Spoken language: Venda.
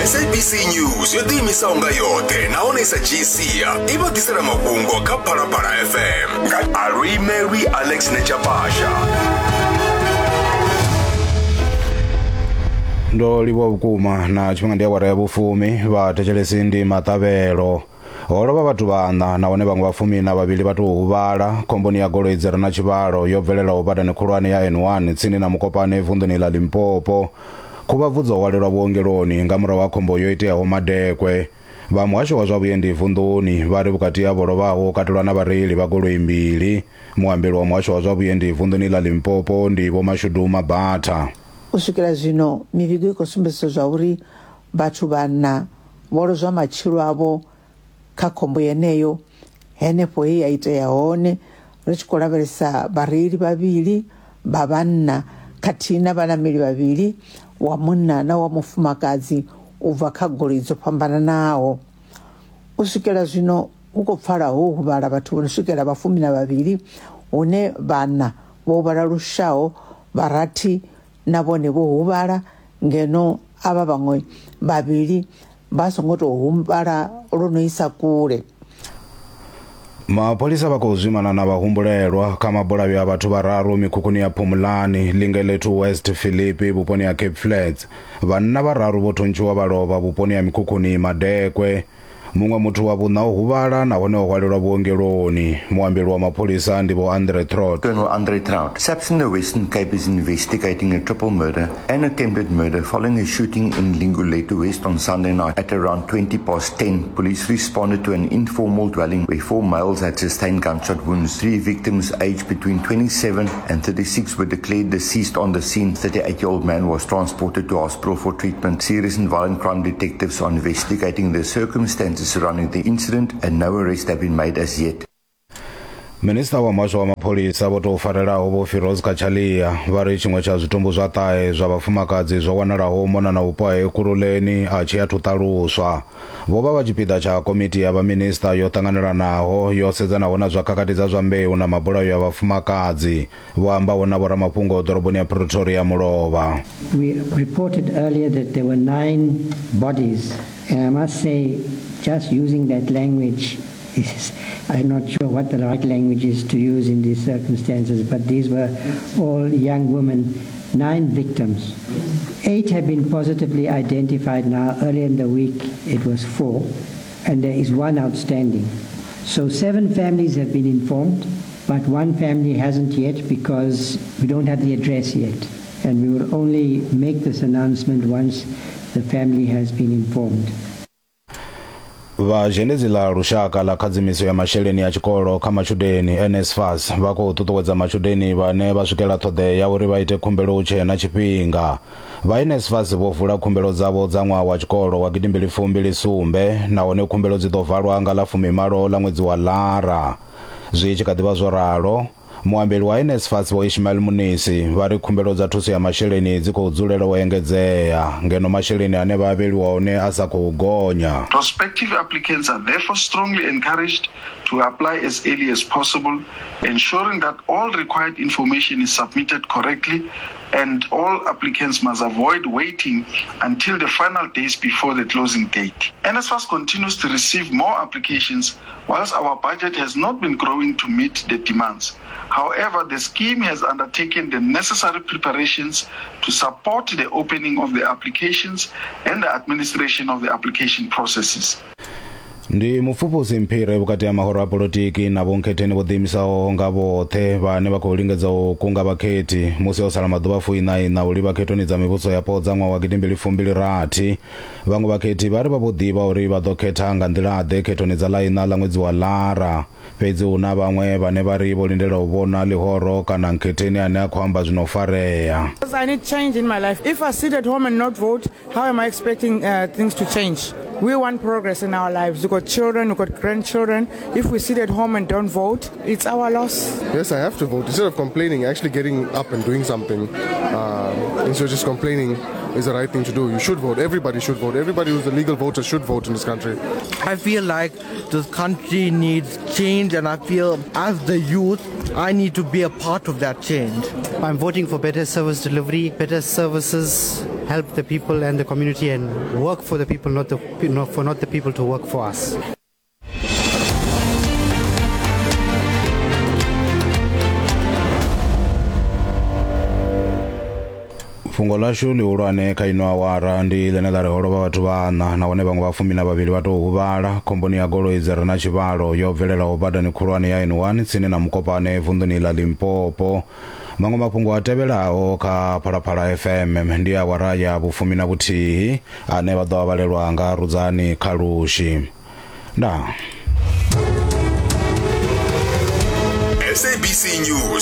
SABC News yo ḓiimisaho nga yoṱhe nahone i sa dzhii sia i vha ḓisela mafhungo kha Phalaphala FM nga Aluimelwi Alex Nechapasha. Ndo livhuwa vhukuma na tshifhinga ndi awara ya vhufumi vhathetshelesi ndi maṱavhelo. Ho lovha vhathu vhaṋa nahone vhaṅwe vha fumi na vhavhili vha tou huvhala khomboni ya goloi dzi re na tshivhalo yo bvelelaho badani khulwane ya N1 tsini na Mokopane vunḓuni ḽa Limpopo. Khuvhabvu dzo hwalelwa vhuongeloni nga murahu ha khombo yo iteaho madekwe. Vha muhasho wa zwa vhuendi vunḓuni vha ri vhukati ha vho lovhaho hu katelwa na vhareili vha goloi mbili. Muambeli wa muhasho wa zwa vhuendi vunḓuni ḽa Limpopo ndi Vho Mashudu Mabatha. U swikela zwino, mivhigo i khou sumbedzisa zwauri vhathu vhaṋa vho lozwa matshilo avho kha khombo yeneyo henefho he ya itea hone, ri tshi khou lavhelesa vhareili vhavhili vha vhanna khathihi na vhanameli vhavhili, wa munna na wa mufumakadzi u bva kha goloi dzo fhambananaho. U swikela zwino hu khou pfala ho huvhala vhathu vho no swikela vha fumi na vhavhili, hune vhaṋa vho huvhala lushaho, vha rathi na vhone vho huvhala ngeno avha vhaṅwe vhavhili vha songo tou huvhala lwo no isa kule. Mapholisa vha khou zwimana na vhahumbulelwa kha mabulayo a vhathu vhararu mikhukhuni ya Phumulani, Lingelethu West Philippi vhuponi ha Cape Flats. Vhanna vhararu vho thuntshiwa vha lovha vhuponi ha mikhukhuni Madekwe. Muṅwe muthu wa vhuṋa o huvhala nahone o hwalelwa vhuongeloni. Muambeli wa mapholisa ndi Vho Andre Trot. Colonel Andre Traut. SAPS in the Western Cape is investigating a triple murder and attempted murder following a shooting in Linguletu West on Sunday night at around 20 past 10. Police responded to an informal dwelling where four males had sustained gunshot wounds. Three victims aged between 27 and 36 were declared deceased on the scene. 38-year-old man was transported to hospital for treatment. Serious and violent crime detectives are investigating the circumstances surrounding the incident and no arrests have been made as yet. Minisiṱa wa muhasho wa mapholisa vho tou farelaho Vho Firoz Cachalia vha ri tshiṅwe tsha zwitumbu zwa ṱahe zwa vhafumakadzi zwo wanalaho u mona na vhupo ha Ekurhuleni a tshi athu ṱaluswa. Vho vha vha tshipiḓa tsha komiti ya vhaminisiṱa yo ṱanganelanaho yo sedzanaho na zwa khakhathi dza zwa mbeu na mabulayo a vhafumakadzi. Vho ambaho na vhoramafhungo ḓoroboni ya Pretoria mulovha. We reported earlier that there were nine bodies and I must say just using that language is, I'm not sure what the right language is to use in these circumstances, but these were all young women, nine victims. Eight have been positively identified now. Earlier in the week, it was four, and there is one outstanding. So seven families have been informed, but one family hasn't yet because we don't have the address yet. And we will only make this announcement once the family has been informed. Vha zhendedzi ḽa lushaka ḽa khadzimiso ya masheleni a tshikolo kha matshudeni NSFAS vha khou ṱuṱuwedza matshudeni vhane vha swikela ṱhoḓea ya uri vha ite khumbelo hu tshee na tshifhinga. Vha NSFAS vho vula khumbelo dzavho dza ṅwaha wa tshikolo wa gidimbili fumbili sumbe nahone khumbelo dzi ḓo valwa nga ḽa fumimalo ḽa ṅwedzi wa Lara. Zwi tshi kha ḓi vha zwo ralo, Muambeli wa NSFAS Vho Ishmael Munisi vha ri khumbelo dza thuso ya masheleni dzi khou dzulela u engedzea ngeno masheleni ane vha avheliwa one a sa khou gonya. Prospective applicants are therefore strongly encouraged to apply as early as possible, ensuring that all required information is submitted correctly and all applicants must avoid waiting until the final days before the closing date. NSFAS continues to receive more applications whilst our budget has not been growing to meet the demands. However, the scheme has undertaken the necessary preparations to support the opening of the applications and the administration of the application processes. Ndi mupfufhusi mphire vhukati ha mahoro a polotiki na vhonkhetheni vho ḓiimisaho nga vhoṱhe vhane vha khou lingedza u kunga vhakhethi musi ho sala maḓuvha fuiṋa iṋa u livha khethoni dza mivhuso yapo dza ṅwaha wa gidimbili fumbili rathi. Vhaṅwe vhakhethi vha ri vha vho ḓivha uri vha ḓo khetha nga nḓila-ḓe khethoni dza ḽa iṋa ḽa ṅwedzi wa Lara. Fhedzi hu na vhaṅwe vhane vha ri vho lindela u vhona ḽihoro kana nkhetheni ane a khou amba zwi no farea. I need change in my life. If I sit at home and not vote, how am I expecting uh, things to change? We want progress in our lives. We've got children, we've got grandchildren. If we sit at home and don't vote, it's our loss. Yes, I have to vote. Instead of complaining, actually getting up and doing something. Instead of just complaining is the right thing to do. You should vote. Everybody should vote. Everybody who's a legal voter should vote in this country. I feel like this country needs change, and I feel as the youth, I need to be a part of that change. I'm voting for better service delivery, better services. help the people and the community and work for the people, not, the, not for not the people to work for us. Fhungo ḽashu ḽihulwane kha ino awara ndi ḽine ḽa ri ho lovha vhathu vhaṋa nahone vhaṅwe vha fumi na vhavhili vha tou huvhala khomboni ya goloi dzi re na tshivhalo yo bvelelaho badani khulwane ya N1 tsini na Mukopane vunḓuni ḽa Limpopo. Maṅwe mafhungo a tevhelaho kha Phalaphala FM ndi awara ya vhufumi na vhuthihi ane vha ḓo a vhalelwa nga Rudzani Khalushi. Ndaa. SABC News.